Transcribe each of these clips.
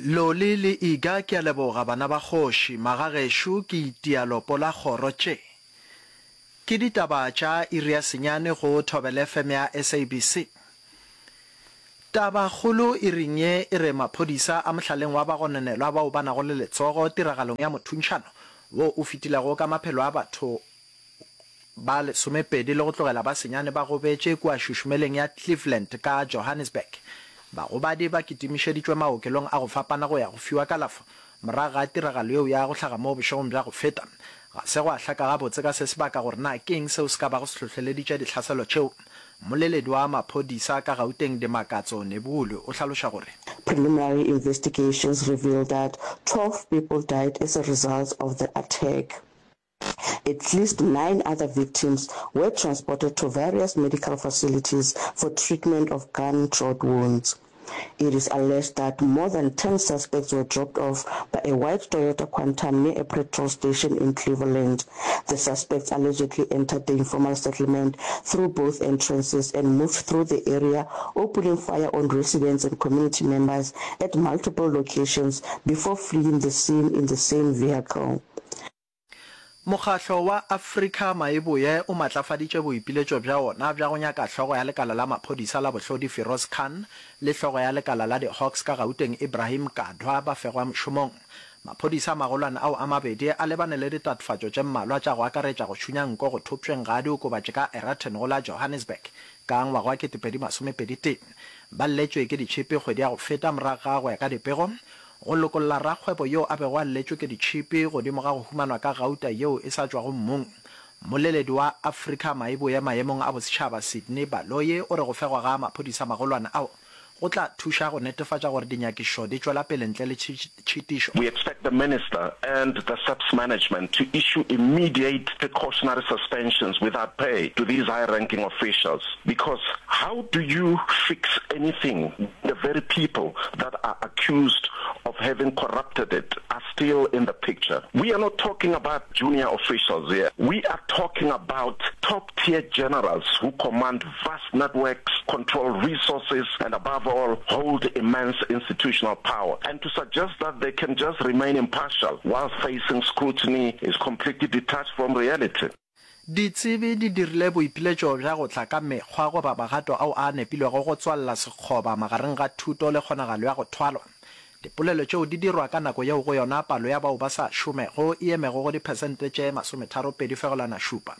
Loli le Iga ke a leboga bana ba kgoši, magagešo ke itia lopo la kgoro tše. Ke ditaba tša iri ya senyane go Thobela FM ya SABC. Taba kgolo iring ye e re maphodisa a mohlaleng wa bagononelwa bao ba nago le letsogo tiragalong ya mothuntšhano wo o fetilego ka maphelo a batho ba lesomepedi le go tlogela ba senyane ba gobetše kua šušumeleng ya Cleveland ka Johannesburg. Bagobadi ba kitimišeditšwe maokelong a go fapana go ya go fiwa kalafo morago ga tiragalo yeo ya go hlaga moo bošegong bja go feta. Ga se gwa hlaka gabotse ka se sebaka gore na ke eng seo se ka bago se hlohleleditše dihlaselo tšeo. Mmoleledi wa maphodisa ka Gauteng Dimakatso Nebulu o hlaloša gore. Preliminary investigations revealed that 12 people died as a result of the attack. At least nine other victims were transported to various medical facilities for treatment of gunshot wounds. It is alleged that more than 10 suspects were dropped off by a white Toyota Quantum near a petrol station in Cleveland. The suspects allegedly entered the informal settlement through both entrances and moved through the area, opening fire on residents and community members at multiple locations before fleeing the scene in the same vehicle. Mokgahlo wa Afrika Maeboye o matlafaditše boipiletšo bja wona bja go nyaka hlogo ya lekala la maphodisa la bohlodi Firoz Khan le hlogo ya lekala la di-Hawks ka Gauteng Ibrahim Kadwa ba fegwa mošomong. Maphodisa a magolwane ao a mabedi a lebane le ditatofatšo tše mmalwa tša go akaretša go šunya nko go thopšweng ga diokobatši ka Eraton go la Johannesburg ka ngwaga wa 2021. Ba lletšwe ke ditšhipi kgwedi ya go feta morago ga go ya ka dipego Go lokolla rakgwebo yo a bego a lletšwe ke ditšhipi godimo ga go humanwa ka gauta yeo e sa tšwago mmung. Mmoleledi wa Afrika Maeboye maemong a bosetšhaba Sydney Baloyi o re go fegwa ga maphodisa magolwane ao go tla thuša go netefatša gore dinyakišišo di tšwela pele ntle le tšhitišo. We expect the minister and the SAPS management to issue immediate precautionary suspensions without pay to these high-ranking officials because how do you fix anything when the very people that are accused of having corrupted it are still in the picture? We are not talking about junior officials here. We are talking about top-tier generals who command vast networks, control resources, and above all, hold immense institutional power. And to suggest that they can just remain impartial while facing scrutiny is completely detached from reality. Ditsebi di dirile boipiletšo bja go tla ka mekgwa goba magato ao a nepilwego go tswalela sekgoba magareng ga thuto le kgonagalo ya go thwalwa. Dipolelo tšeo di dirwa ka nako yeo go yona palo ya bao ba sa šomego e emego go diphesente tše 32.7.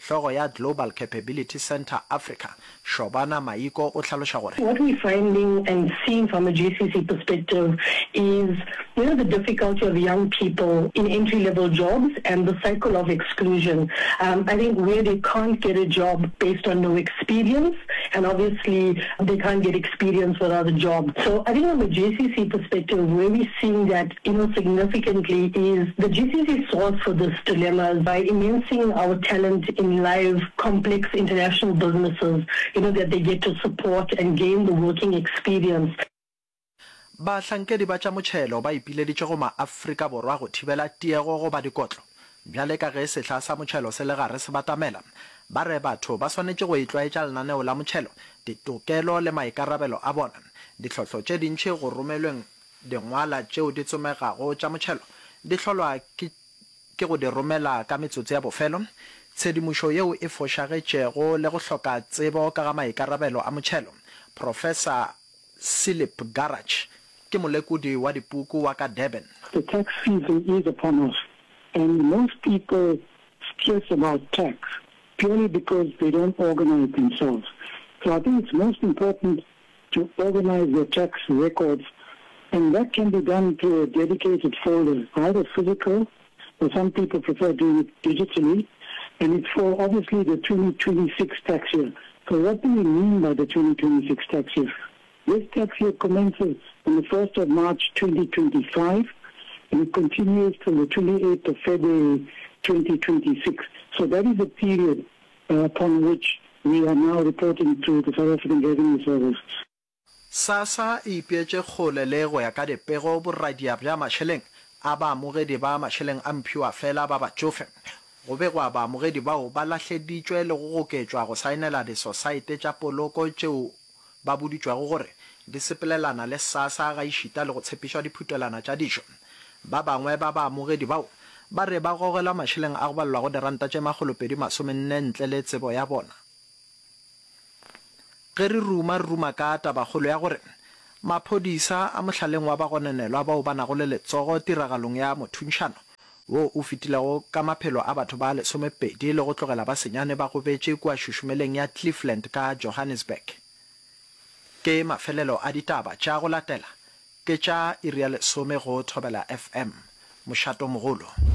Hlogo ya Global Capability Centre Africa, Shobana Maiko o hlaloša gore. What we're finding and seeing from a GCC perspective is, you know, the difficulty of young people in entry-level jobs and the cycle of exclusion. Um, I think where they can't get a job based on no experience, and obviously they can't get experience without a job. So I think from a GCC perspective, where we're seeing that, you know, significantly is the GCC solves for this dilemma by immersing our talent in live, complex international businesses, you know, that they get to support and gain the working experience. Bahlankedi ba tša motšhelo ba ipileditše go maAfrika Borwa go thibela tiego goba dikotlo bjale ka ge sehla sa motšhelo se le gare se batamela. Ba re batho ba swanetše go itlwaetša lenaneo la motšhelo, ditokelo le maikarabelo a bona. Ditlhohlo tše dintši go romelweng dingwala tšeo di tsomegago tša motšhelo di hlolwa ke ke go di romela ka metsotso ya bofelo, tshedimošo yeo e fošagetšego le go hloka tsebo ka ga maikarabelo a motšhelo. Profesa Silip Garach ke molekodi wa dipuku wa ka Durban. The tax season is upon us and most people stress about tax purely because they don't organize themselves. So I think it's most important to organize their tax records and that can be done through a dedicated folder, either physical or some people prefer doing it digitally, and it's for obviously the 2026 tax year. So what do we mean by the 2026 tax year? This tax year commences on the 1st of March 2025 and it continues till the 28th of February 2026. So that is a period uh, upon which we are now reporting to the South African Revenue Service. SASSA e ipeetše kgole le go ya ka dipego boradia bja mašeleng a baamogedi ba mašeleng a mphiwafela ba batšofe. Go begwa baamogedi bao ba lahleditšwe le go goketšwa go saenela disosaete tša poloko tšeo ba boditšwego gore di sepelelana le SASSA gaešita le go tshepišwa diphutelwana tša dijo. Ba bangwe ba baamogedi bao ba re ba gogelwa mašeleng a go balelwago diranta tše makgolopedi-masomenne ntle le tsebo ya bona. Ge re ruma, re ruma ka tabakgolo ya gore maphodisa a mohlaleng wa bagononelwa bao ba nago le letsogo tiragalong ya mothuntšhano wo o fetilego ka maphelo a batho ba lesomepedi le go tlogela ba senyane ba gobetše kua šušumeleng ya Cleveland ka Johannesburg. Ke mafelelo a ditaba tša go latela ke tša iri ya lesome go Thobela FM. Mošatomogolo.